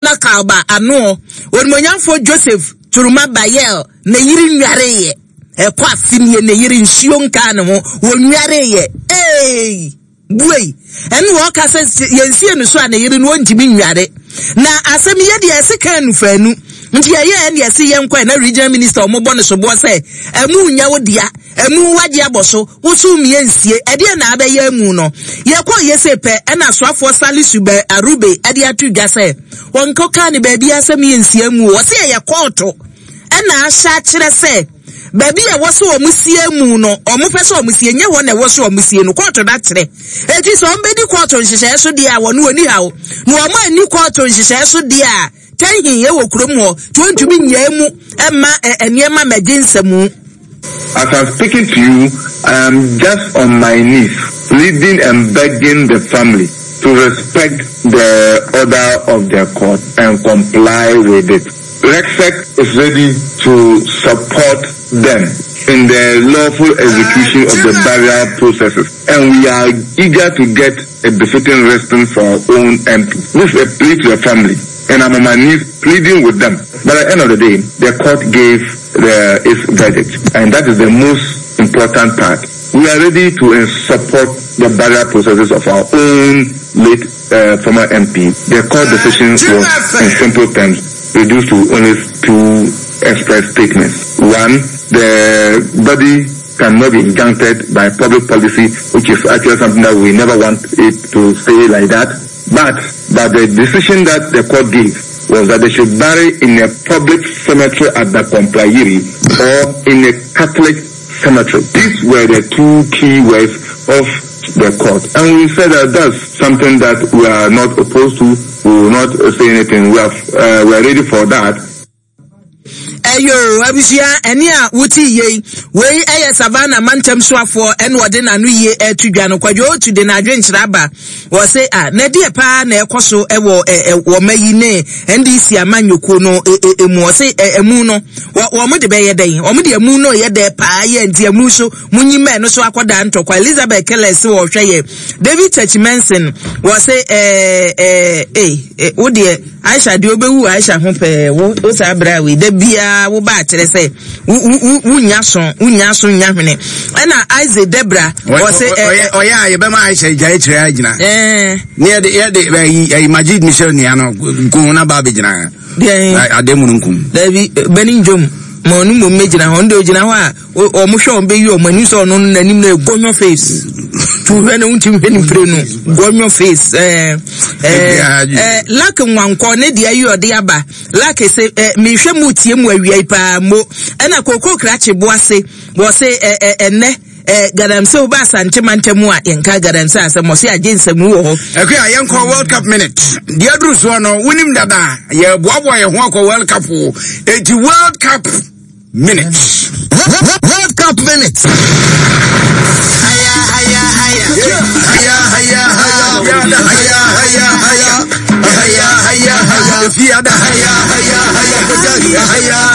Na Kalba ano, Onimuonyamfoɔ Joseph Turuma Bayel ne yere nnwareeɛ. Ɛkɔ afe nie ne yere nsuo nkaa ne ho, wɔnnwareeɛ. Eei! Buei! Ɛne wɔka sɛ yɛnsie no so a ne yere no ɔntumi nnware. Na asɛm yi yɛdeɛ ɛse kan nufaanu. Nti yɛyɛɛ ɛne ɛse yɛnkɔ ɛ na regional minister wɔbɔ no soboɔ sɛ ɛmu nyɛ wo dea. Amu wagye abɔ so, woso mmea nsie, ɛdeɛn na abɛyɛ amu no? Yɛkɔɔ yese pɛ, ɛna asoafoɔ Salisu Bɛ Arube de ato dwa sɛ, wɔnkɔkaa no baabiara sɛ mmea nsie amu o, wɔse ɛyɛ kɔɔto ɛna ahyɛ akyerɛ sɛ baabi a ɛwɔ sɛ wɔn sie amu no, wɔn pɛ sɛ wɔn sie, nyɛ hɔ na ɛwɔ sɛ wɔn sie no, kɔɔto no akyerɛ. Eti sɛ wɔn bɛdi kɔɔto nhyehyɛɛ so deɛ a, wɔn wɔnni haw, na wɔn anni kɔɔto nhyehyɛɛ so deɛ a, Tɛnhe wɔ kurom hɔ, nti wɔntumi nnyaa mu mma nneɛma mmɛgye nsamu. As I'm speaking to you, I am just on my knees pleading and begging the family to respect the order of the court and comply with it. REGSEC is ready to support them in the lawful execution of the burial processes and we are eager to get a befitting resting for our own MP. This is a plea to the family and I'm on my knees pleading with them. But at the end of the day, the court gave the, its verdict and that is the most important part. We are ready to support the burial processes of our own late uh, former MP. The court decision was, in simple terms, reduced to only two express statements. One, the body cannot be injuncted by public policy, which is actually something that we never want it to stay like that. But, but the decision that the court gave was that they should bury in a public cemetery at the Komplayiri or in a Catholic cemetery. These were the two key words of the court. And we said that that's something that we are not opposed to. We will not say anything. We are, uh, we are ready for that. Ɛyoo abusua ɛne a wote yei wei ɛyɛ Savannah mantam soafoɔ ɛna ɔde n'ano yie ɛto dwa no Kwadwo Otu de n'adwenkyerɛ aba wɔ se a na ɛdeɛ paa na ɛkɔ so ɛwɔ ɛ wɔ ma yi ne NDC amanyɔkuo no ɛ mu ɔse ɛ ɛmu no wɔ wɔn de bɛyɛ dɛn wɔn de ɛmu no yɛ dɛ paa yɛ nti ɛmu so munyi mɛ no so akɔda ntɔkwa Elizabeth Keller se wɔhwɛ yɛ David Church Manson wɔ se ɛɛ ɛɛ ee wo deɛ Aisha deɛ ɔbɛwu Aisha ho pɛɛ wo wo saa berɛ a wei da biara wo ba akyerɛ sɛ wo wo wo nya so wo nya so nya hwene ɛna Isaac Debra ɔsɛ ɛ ɔyɛ a yɛbɛma Aisha gya akyerɛ agyina ɛɛ ne yɛde yɛde ɛyi ɛyi Majid Michel nua no nko na ba abɛgyina deɛ ade mu no nkum dabi bɛni ndwom ma ɔno mmom mɛgyina hɔ ɔno deɛ ɔgyina hɔ a Wɔn hwɛ wɔn bɛyi wɔn ani sɛ ɔno no n'anim no yɛ gɔnyɔ face tu hwɛ no ntumi hwɛ ne mpire no gɔnyɔ face ɛɛ ɛɛ ɛɛ lak nwankɔ ne deɛ yi ɔde aba lak se ɛɛ mehwɛ mu tie mu awia yi paa mo ɛna koko krakye boase wɔ se ɛɛ ɛnɛ ɛɛ galamsey wo ba asante mantam a yɛnka galamsey asɛm ɔse agye nsɛm wɔ hɔ. Ɛkò a yɛnkɔ World Cup minute deɛ aduru soɔ no wonim dada yɛboaboa yɛn ho akɔ World Cup o eti World Cup. Minutes. World Cup minutes. Haya, haya, haya. Haya, haya, haya. Haya, haya, haya. Haya, haya, haya. Haya, haya, haya. Haya.